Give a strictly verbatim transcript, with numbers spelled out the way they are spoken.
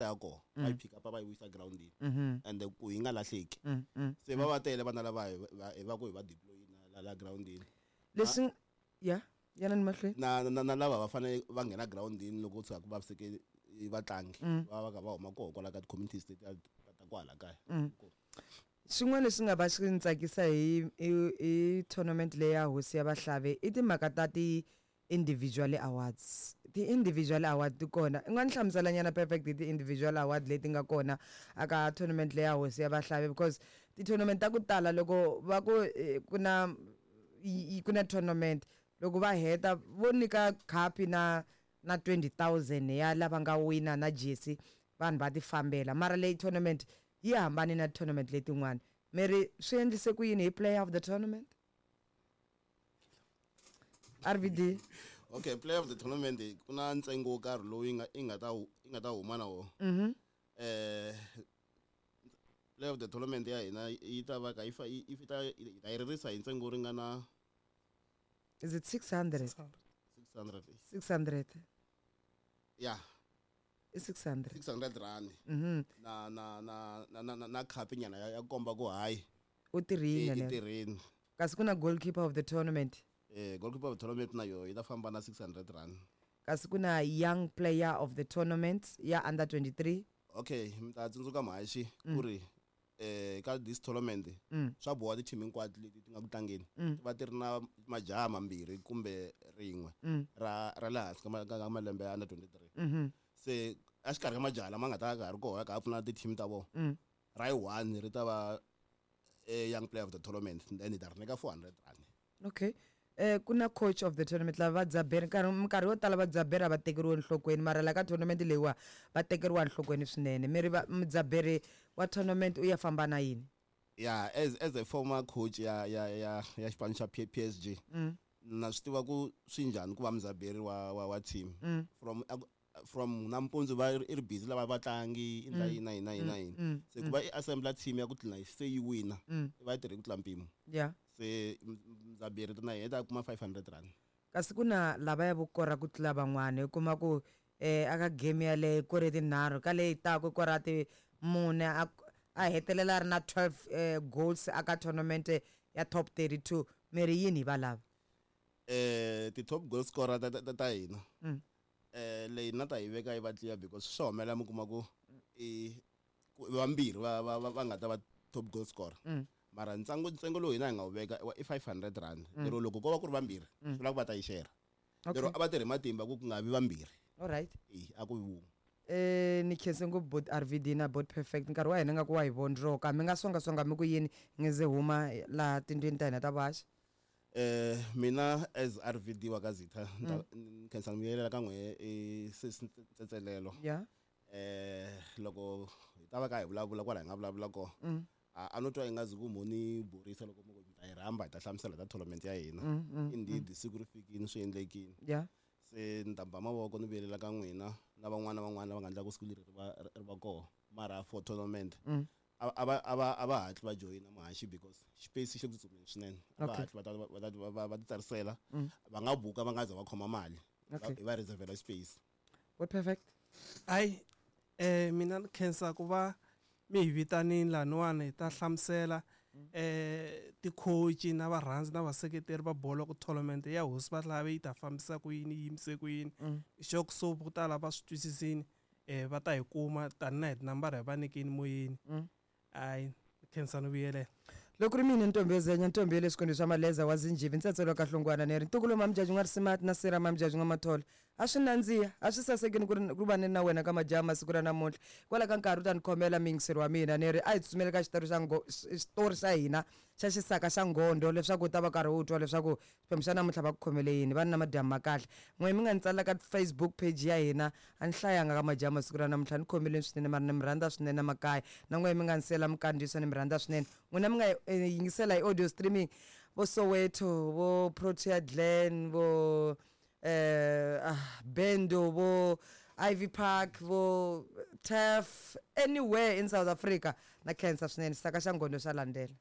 Ya kona va yi pick up, va yi vuyisa groundini Mhm. and ku yi nga lahleki. Mm, mm. Se va va tele vana lava hi va hi va ku hi va deploy la la groundini. Leswi ya yana ni mahlweni. na na na lava va fanele va nghena groundini loko ku tshuka ku vaviseke vatlangi, va va kha va huma koho kwala ka ti-communities leti ta ta kwala kaya. Xin'wana lexi nga va xi ni tsakisa hi hi hi tournament leyi ya Hosi ya Vahlavi i timhaka ta ti individual awards. Ti-individual award ti kona, i nga ni hlamusela nyana, Perfect, hi ti-individual award leti nga kona aka tournament leyi ya Hosi ya Vahlavi? Because ti-tournament ta ku tala, loko va ku eh, ku na yi- yi- ku na tournament, loko va heta vo nyika khapi na na twenty thousand ya lava nga wina na jersey, vanhu va ti fambela. Mara leyi tournament yi hambane na tournament letin'wana. Mi ri swi endlise ku yini hi player of the tournament, R V D? Okay, player of the tournament, ku na ntsengo wo karhi lowu yi nga yi nga ta hu- yi nga ta huma na wona. Mhm eh player of the tournament ya hina yi ta va ka yi fa yi yi ta yi ta yi ririsa hi ntsengo wo ringana Is it six hundred? six hundred. six hundred. Ya. I six hundred. six hundred rand. Mhm na na na na na na, na khapi nyana ya, ya komba ku hayi, u i tirhile i leri. Tirhini. Kasi ku na goalkeeper of the tournament? eh goalkeeper of the tournament na yo yi ta famba na six hundred rand. Kasi ku na young player of the tournament ya under twenty-three? Okay, mi ta tsundzuka, mhaxi, ku ri eh ka this tournament Mm. swa boha ti-team hinkwato leti ti nga ku tlangeni ti va ti ri na majaha mambirhi kumbe rin'we Mm. ra ra le hansi ka ma- ka ka malembe ya under twenty-three. Mhm Se exikarhi ka majaha lama nga ta ka ha ri kona ka ha pfuna ti-team ta vona, Mm. ra yi one ri ta va eh, young player of the tournament, then hi ta ri nyika four hundred rand. Okay, eh ku na coach of the tournament. Lava va dzaberi, nkarhi minkarhi yo tala va dzaberi a va tekeriwi enhlokweni, mara la ka tournament leyiwa va tekeriwa enhlokweni swinene. Mi ri va- mudzaberi wa tournament u ya famba na yini? Yeah, as as a former coach ya ya ya ya xipano xa P- PSG, Mm. na swi tiva ku swi njhani ku va mudzaberi wa wa, wa team. Mm. from from nampundzu va i ri busy lava vatlangi, i ndla yini na yini na yini na yini. Mm. Se ku va i assembler team ya ku tlina se yi wina, Mm. i va yi tirhe ku tlula mpimo. Yeah Se mudzaberi na yena i ta kuma five hundred rand. Kasi ku na lava ya vo kora ku tlula van'wana, u kuma ku eh aka game yaleyo kore tinharhu, ka leyi taku kora ti mune, a a hetelela a ri na twelve eh, goals aka tournament ya top thirty-two. Mi ri yini hi valava? eh ti top goal scorer ta ta ta hina, Mm. eh leyi na ta yi veka yi va clear, because swa humelela mi kuma ku i ku vambirhi va va va va nga ta va top goal scorer, Mm. mara ntsengo ntsengo lowu hina hi nga wu veka i five hundred rand, lero loko ko va ku ri vambirhi, swi vula ku va ta yi share. Okay. Lero a va tirhi matimba ku ku nga vi vambirhi. Alright. E a ku vi wun'we. Eh ni khense ngopfu bot R V D na bot Perfect. Nkarhi wa hina nga ku wa hi vondroka. Mi nga songasonga mi ku yini nge ze huma laha tindlwini ta hina ta vuhaxi? eh mina as R V D wa ka Zitha, ni khensa ni vuyelela ka n'we i Tsetselelo. Ya. eh loko hi ta va ka hi vulavula kwala hi nga vulavula kona, Mm. a a no twa ingazi ku mo ni borisa loko mo ku mi ta hi rhamba hi ta hlamusela ta tournament ya hina. Mm, mm, Indeed, siku ri fikini, swi endlekini. Ya. Se ni ta ba mavoko ni vuyelela ka n'wina na van'wana na van'wana lava nga endla ku siku leri ri va ri va kona. Mara for tournament, Mm. a a va a va a va hatli va joyina, muhaxi, because xipesi xi le ku tsutsumeni swinene. A va Okay. hatli va ta va ta va va va ti tsarisela. Mm. Va nga buka va nga za va khoma mali. Okay. Va- hi va reservela space. Bot Perfect. Hayi, eh mina ni khensa ku va mi hi vitanini laniwani hi ta hlamusela eh ti-coach na varhandzi na vaseketeri va bolo ku tournament ya Hosi Vahlavi yi ta fambisa ku yini, yi yimise ku yini. Mm. Xo so ku tala va swi twisisini, eh va ta hi kuma tani na hi tinambara hi va nyikini moyeni. Mm. Hayi, khensa ni vuyelela. Loko ri mina ntombi yo zenya, ntombi ya le swikwembu swa maleza wa zinjivi, ntsetselo ka hlongwana, ni ri ntukulu mamjaji n'wa risimati na sira mamjaji n'wa matholo. A swi nandziha, a swi sasekini ku ri ku va ni na wena ka majaha masiku ra namuntlha. Kwala ka nkarhi u ta ni khomela miyingiseri wa mina, ni ri a hi tsutsumeli ka xitori xa ngo xitori xa hina xa xisaka xa ngondo, leswaku u ta va karhi u twa leswaku xiphemu xa namuntlha va ku khomele yini. Va ni na madyambu ma kahle. N'we mi nga ni tsalela ka Facebook page ya hina, a ni hlayanga ka majaha masiku ra namuntlha, ni khomeleni swinene, mara ni mi rhandza swinene makaya. Na n'we mi nga ni siyela minkandziyiso, ni mi rhandza swinene. N'wina mi nga eh, yingisela hi audio streaming, vo Soweto, vo Protea Glen, vo eh ah, Bendo, vo Ivy Park, vo Tef, anywhere in South Africa, na khensa swinene. Xisaka xa ngondo xa landzela.